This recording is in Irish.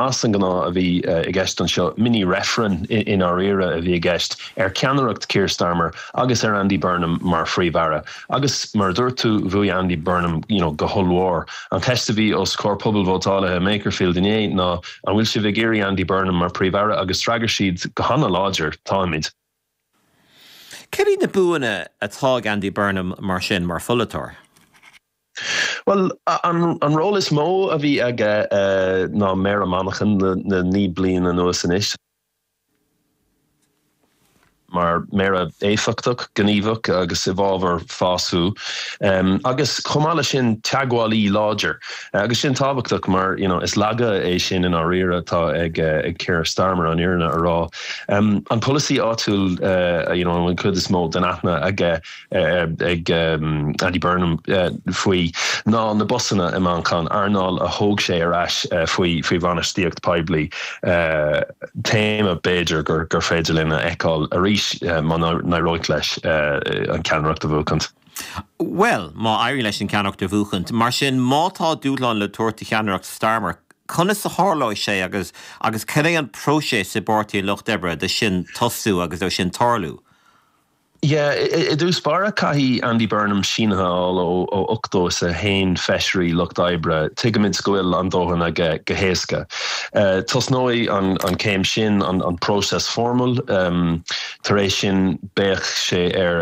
As an ngnáth a bhí i gceist anseo, mini-reifreann i ndáiríre a bhí i gceist ar cheannaireacht Keir Starmer agus ar Andy Burnham mar Phríomh-Aire. Agus mar a dúirt tú, bhuaigh Andy Burnham you know go hollmhór. An cheist a bhí os comhair pobalvótálaithe i mBakerfield inné ná an bhfuil sibh ag iarraidh Andy Burnham mar Phríomh-Aire agus d'fhreagair siad go hana-láidir, táimid. Céard iad na buanna atá ag Andy Burnham mar sin mar pholaiteoir? Bhuel, an ról is mó a bhí aige ná Méara Manchain le 9 bliain anuas anois. Mar Méara éifeachtach, gníomhach agus i bhfabhar fás fiú. Agus chomh maith leis sin, teagmhálaí láidir. Agus sin tábhachtach mar, you know, is laige é sin i ndáiríre atá ag Keir Starmer, an fhírinne a rá. An polasaí áitiúil, you know, an chuid is mó den aithne aige, ag Andy Burnham faoi ná na busanna i Manchain, earnáil a thóg sé ar ais faoi bhainistíocht poiblí. Téama b'fhéidir gur féidir linn a fheiceáil arís má n-éireoidh leis an ceannaireacht a bhuachaint. Bhuel, má éiríonn leis an ceannaireacht a bhuachaint, mar sin má tá dúshlán le tabhairt do cheannaireacht Starmer, conas a tharlóidh sé agus agus cad é an próiseas i bPáirtí an Lucht Oibre do sin tosú agus dó sin tarlú? Yeah, i dtús báire caithfidh Andy Burnham sínithe a fháil ó 81 feisirí Lucht Oibre. Tuigimid go bhfuil an dóthain aige go héasca. Tosnóidh an céim sin, an próiseas foirmiúil. Tar éis sin beidh sé ar.